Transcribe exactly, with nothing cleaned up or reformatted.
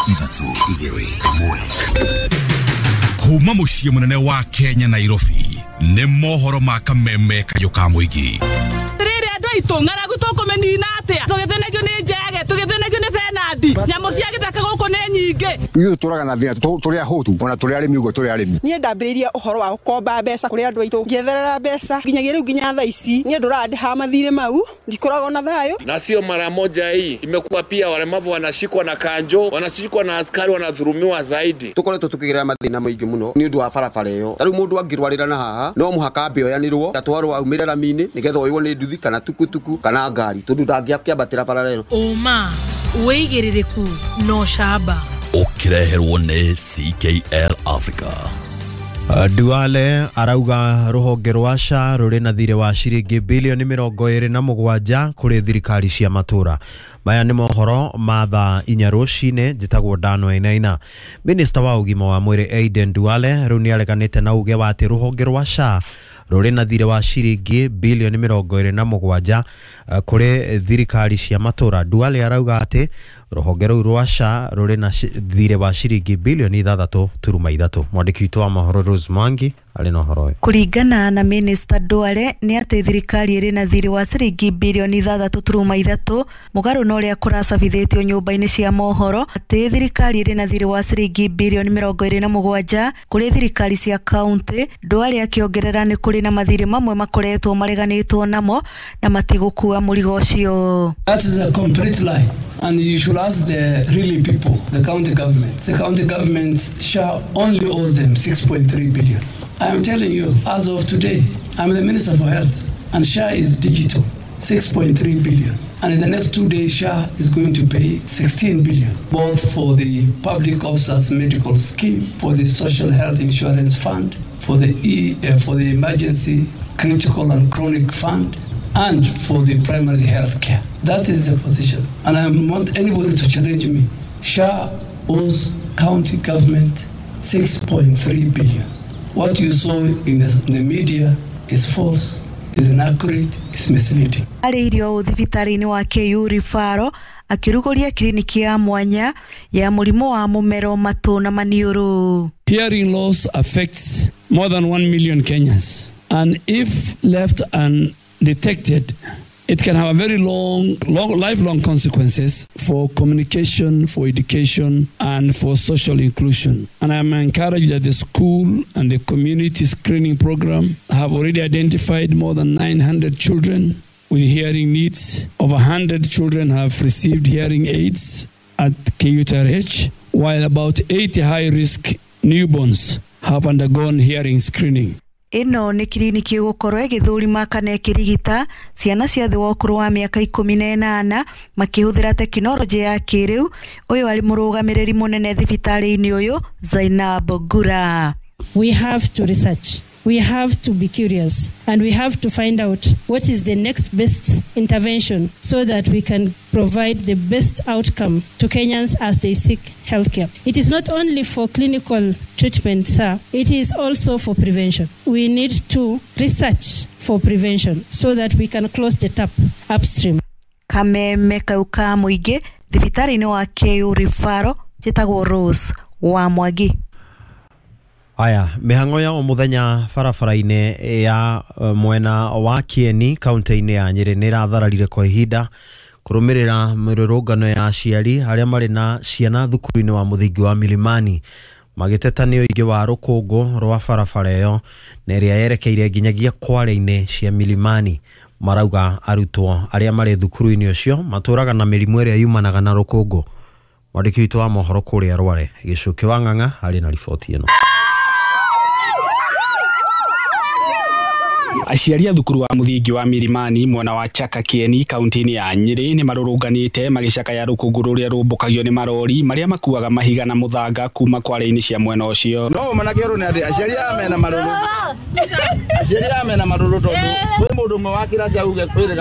Ithatũ igĩrĩ ĩmwe. Kuma mũciĩ mũnene wa Kenya Nairobi nĩ mohoro ma kameme kayũ ka mũingĩ. Rĩrĩ andũ aitũ ng'aragu tũkũmĩnina atĩa? Tũgĩthĩnagio nĩ njege, tũgĩthĩnagio nĩ benandi, nyamũ cia gĩthaka gũkũ nĩ nyingĩ. Ithuĩ tũraga na thĩna tũrĩ ahũtu ona tũrĩ arĩmi ũguo tũrĩ arĩmi. Niĩ ndambĩrĩirie ũhoro wa gũkomba mbeca kũrĩ andũ aitũ, ngĩetherera mbeca nginyagia rĩu nginya thaa ici niĩ ndũrandĩha mathirĩ mau, ndikoragwo na thayũ. Na sio mara moja hii, imekuwa pia walemavu wanashikwa na kanjo, wanashikwa na askari, wanadhulumiwa zaidi. Tukoretwo tukigerera mathĩna maingĩ mũno nĩ ũndũ wa barabara ĩyo. Ta rĩu mũndũ angĩrwarĩra na haha no mũhaka ambe oyanĩrwo atwarwo aumĩre rami-inĩ nĩgetha oywo nĩ nduthi kana tukutuku kana ngari tondũ ndangĩakĩambatĩra barabara ĩyo. Ũma wĩigĩrĩrĩku na ũcamba ũkĩreherwo nĩ C K L Africa. Duale arauga ruhonge rwa S H A rũrĩ na thirĩ wa ciringi bilioni mĩrongo ĩrĩ na mũgwanja kũrĩ thirikari cia matũra. Maya nĩ mohoro ma thaa inya rũcinĩ. Njĩtagwo Dano Enaina. Minista wa ũgima wa mwĩrĩ Aden Duale rĩu nĩareganĩte na uge wa atĩ rũhonge rwa S H A rũrĩ na thirĩ wa ciringi bilioni mĩrongo ĩrĩ na mũgwanja kũrĩ thirikari cia matũra. Duale arauga atĩ rũhonge rũu rwa S H A rũrĩ na thirĩ wa ciringi bilioni ithathatũ turuma ithatũ. Mwandĩki witũ wa mohoro Rose Mwangi arĩ na ũhoro ũyũ. Kũringana na Minista Duale nĩ atĩ thirikari ĩrĩ na thirĩ wa ciringi bilioni ithathatũ turuma ithatũ mũgarũ na ũrĩa kũracabithĩtio nyũmba-inĩ cia mohoro atĩ thirikari ĩrĩ na thirĩ wa ciringi bilioni mĩrongo ĩrĩ na mũgwanja kũrĩ thirikari cia kaunti. Duale akĩongerera nĩ kũrĩ na mathirĩ mamwe makoretwo mareganĩtwo namo na matigũkua mũrigo ũcio. That is a complete lie. And you should ask the really people, the county governments. The county governments shall only owe them six point three billion. I am telling you, as of today, I'm the Minister for Health, and S H A is digital, six point three billion. And in the next two days, S H A is going to pay sixteen billion, both for the public officers medical scheme, for the social health insurance fund, for the E, uh, for the emergency critical and chronic fund, and for the primary health care. That is the position. And I want anybody to challenge me. S H A owes county government six point three billion. What you saw in the, in the media is false, is inaccurate, is misleading. Arĩirio ũũ thibitarĩ-inĩ wa K U Referral akĩrugũria kiriniki ya mwanya ya mũrimũ wa mũmero matũ na maniũrũ. Hearing loss affects more than one million Kenyans, and if left undetected, it can have a very long, long, lifelong consequences for communication, for education, and for social inclusion. And I'm encouraged that the school and the community screening program have already identified more than nine hundred children with hearing needs. Over one hundred children have received hearing aids at K U T R H, while about eighty high-risk newborns have undergone hearing screening. Ĩno nĩ kiriniki ĩgũkorwo ĩgĩthũrima kana ĩkĩrigita ciana cia thĩ wa ũkũrũ wa mĩaka ikũmi na ĩnana makĩhũthĩra tekinoronjĩ ya kĩrĩu. Ũyũ arĩ mũrũgamĩrĩri mũnene thibitarĩ-inĩ ũyũ Zainab Ngura. We have to research. We have to be curious, and we have to find out what is the next best intervention so that we can provide the best outcome to Kenyans as they seek healthcare. It is not only for clinical treatment, sir, it is also for prevention. We need to research for prevention so that we can close the tap upstream. Kameme kau ka mũingĩ thibitarĩ-inĩ wa K U Referral njĩtagwo Rose wa Mwangi. Aya, mĩhang'o ya o mũthenya barabara-inĩ ya mwena wa Kieni kaunti-inĩ ya Nyĩrĩ nĩ ĩrathararire kwa ihinda kũrũmĩrĩra mĩrũrũngano ya aciari arĩa marĩ na ciana thukuru-inĩ wa mũthingi wa Milimani magĩteta nĩ ũingĩ wa rũkũngũ rwa barabara ĩyo na ĩrĩa yerekeire nginyagia kware-inĩ cia Milimani. Marauga arutwo arĩa marĩ thukuru-inĩ ũcio matũraga na mĩrimũ ĩrĩa yumanaga na rũkũngũ. Mwandĩki witũ wa mohoro kũrĩa Rware Gĩcũkĩ wa Ng'ang'a arĩ na riboti ĩno. Aciari a thukuru wa mũthingi wa Milimani mwena wa Chaka Kieni kaunti-inĩ ya Nyĩrĩ nĩ marũrũnganĩte magĩcakaya rũkũngũ rũrĩa rũmbũkagio nĩ marori marĩa makuaga mahiga na mũthanga kuma kware-inĩ cia mwena ũcio. No manake rũ nĩ atĩ aciari aya mena marũrũ. Aciari aya mena marũrũ tondũ kwĩ mũndũ ũmwe wa kĩrathi auge kwĩrĩga